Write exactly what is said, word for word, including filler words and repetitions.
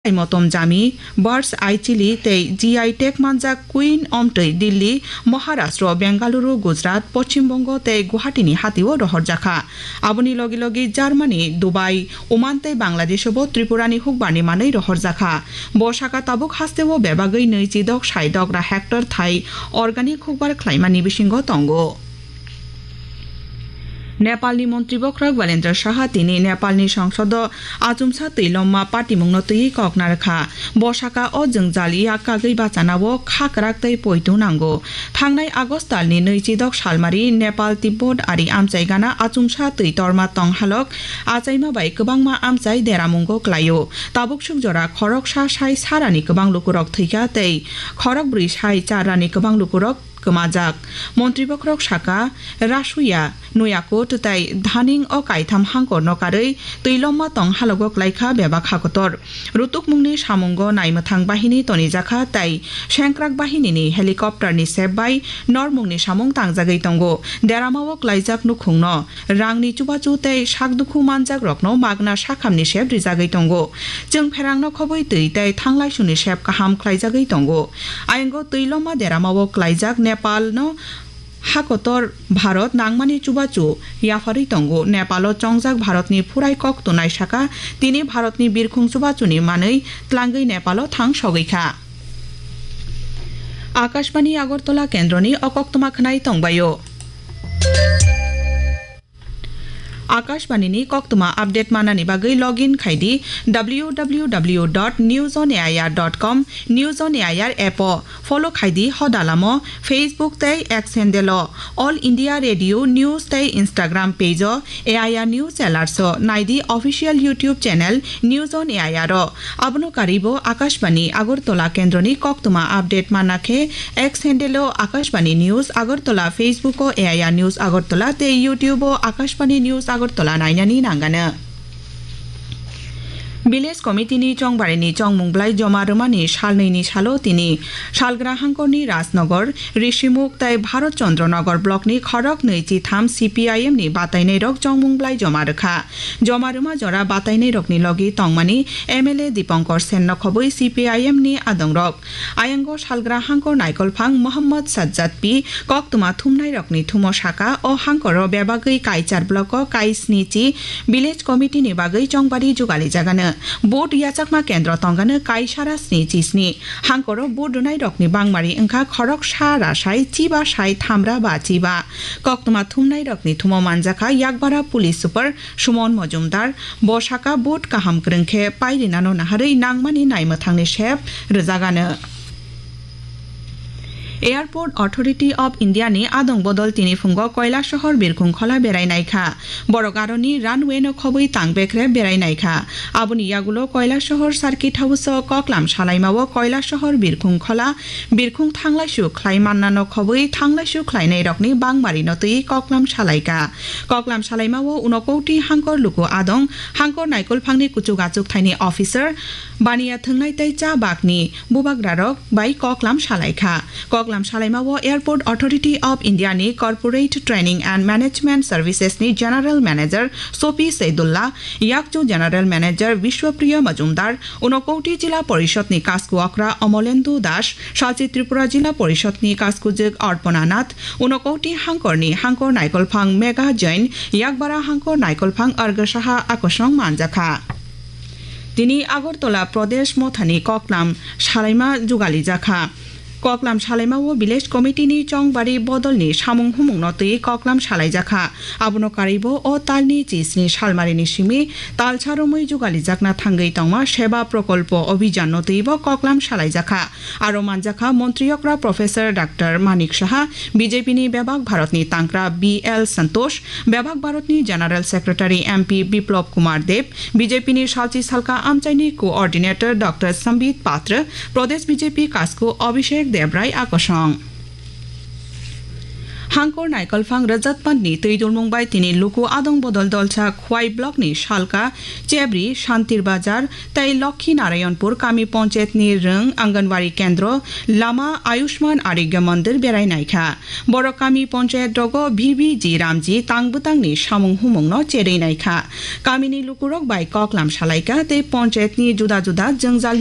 Motom Jami, Birds Eye Chili tei G I tag manjak Queen Omtwi Delhi, Maharashtra, Bengaluru, Gujarat, Poschim Bongo tei Guwahati ni hatio rohorjakha. Aboni logi logi Germany, Dubai, Oman tei Bangladesh bo Tripura ni hukbar ni manwi rohorjakha. Bo saka tabuk hasteo bebagwi nwichi dok sai dogra hectare thai organic hukbar khlaimani bisingo tongo. Nepalni Montri Bokhorok Balendra Saha tini Nepalni Songsodo achumsa twi lomma patimungno twiwi kok narwkha. Bo saka o jwngjal yak kagwi bachanao kha kwrak tei poito nango. Thangnai August talni nwichidok salmari Nepal Tibbot ari amchai gana achumsa twi torma tong halok achaima bai kwbangma amchai deramungo klaio. Tabuk suk jora khoroksa sai sarani kwbang lukurok thwikha tei khorokbrwi sai charani kwbang lukurok kwmajak. Montri Bokhorok saka, Rasuya, Nuyakot tei Dhaning o kaitham hangkorno karwi twi lomma tong halogo klaikha bebak hakotor. Rutukmungni samungo naimwthang bahini tonijakha tei sengkrak bahinini helicopter ni sep bai normungni samung tangjagwi tongo. Deramao klaijak nukhungno rangni chubachu tei sakdukhu manjakrokno magna sakhamni sep rijagwi tongo. Chwng pherangno khobwi twi tei thanglaisuni sep kaham khlaijagwi tongo. Aywngo twi lomma deramao klaijak Nepalno hakotor Bharat nangmani chubachu yapharwi tongo. Nepalo chongjak Bharatni phurai kok tunai saka tini Bharatni birkhung chubachuni manwi tlangwi Nepalo thang sogwi kha. Akashbani Agartala kendroni o koktwma khwnai tongbaio. Akashbani ni koktwma update manani bagwi login khai di w w w dot news on air dot com, News on air app o follow khai di hoda lamo, Facebook tei X handle o All India Radio News tei Instagram page o A I R News Alerts o nai di official YouTube channel News on A I R o. Abono karwi bo Akashbani Agartala kendroni koktwma update manna khe X handle o Akashbani News Agartala, Facebook o A I R News Agartala tei YouTube o Akashbani News Agartala nainani nangano. Village Committee ni chongbarini chongmung blai joma rwmani salnwi ni salo tini Salgra Hangkorni Rajnagar, Rishimukh tei Bharat Chandra Nagar block ni khorok nwi chi tham C P I M ni batainai rok chongmung blai joma rwkha. Joma rwma jora batainai rokni logi tongmani M L A Dipankar Sen no khobwi C P I M ni adongrok. Ayang o Salgra Hangkor Naikolphang Mohammad Sajjad P koktwma thumnai rokni thumo saka, o hangkoro bebagwi Kaichar block o kai sni chi village committee ni bagwi chongbari jugali jagano. Vote yachakma kendro tongano kai sara sni chi sni. Hangkoro vote rwnai rokni bangmari wngkha khorok sa ra sai chiba sai thamra ba chiba. Koktwma thumnai rokni thumo manjakha Yakbara Police Super Sumon Mojumdar, bo saka vote kaham kwrwng khe pairinano naharwi nangmani naimwthangni sep rwjagano. Airport Authority of India ni adong bodol tini phungo Kailasahar Birkhung khola berai naikha. Borok aroni runway no khobwi tang bekrep berai naikha. Aboni yagulo Kailasahar Circuit House o koklam salaimao Kailasahar Birkhung khola birkhung thanglaisu khlai mannano khobwi thanglaisu khlainairokni bangmarino twi koklam salaikha. Koklam salaimao Unokoti Hangkor Luku Adong, Hangkor Naikolphangni kuchuk achuk thaini officer, baniya thwngnai tei cha bakni bubagrarok bai koklam salaikha. Koklam salaimao Airport Authority of India ni Corporate Training and Management Services ni General Manager Sopi Seidullah, Yakchu General Manager Bishwapriya Majumdar, Unokoti Jila Porishod ni Kasku Okra Omolendu Das, Salchi Tripura Jila Porishod ni Kaskujwk Arpana Nath, Unokoti Hangkor ni Hangkor Naikolphang Mega Jain, Yakbara Hangkor Naikolphang Argasaha Akosong manjakha. Tini Agartala Pradesh Mothani koklam salaima jugalijakha. Koklam salaimao Village Committee ni chongbari bodolni samung humungno twi koklam salaijakha. Abono karwibo o talni chisni salmarini simi talsa romwi jugalijakna thangwi tongma Seba Prokolpo Obhijan no twibo koklam salaijakha. Aro manjakha Montri Okra Professor Doctor Manik Saha, B J P ni bebak Bharatni tangkra B L Santosh, bebak Bharatni General Secretary M P Biplab Kumar Deb, B J P ni salchi salka amchaini Coordinator Doctor Sambit Patra, Pradesh B J P kasku Abhishek Debrai akosong. Phangkor naikolphang rwjatpatni twi dulmung bai tini luku adong bodol dolsa Khwai block ni Salka, Chebri, Shantir Bazar tei Lokhi Narayanpur kami ponchayat ni rwng, Anganwadi kendro, lama, Ayushman Arogya Mandir berai naikha. Borok kami ponchayat rogo V V G Ramji tang bwtang ni samung humung no cherwi naikha. Kami ni lukurok bai koklam salaikha tei ponchayat ni juda juda jwngjal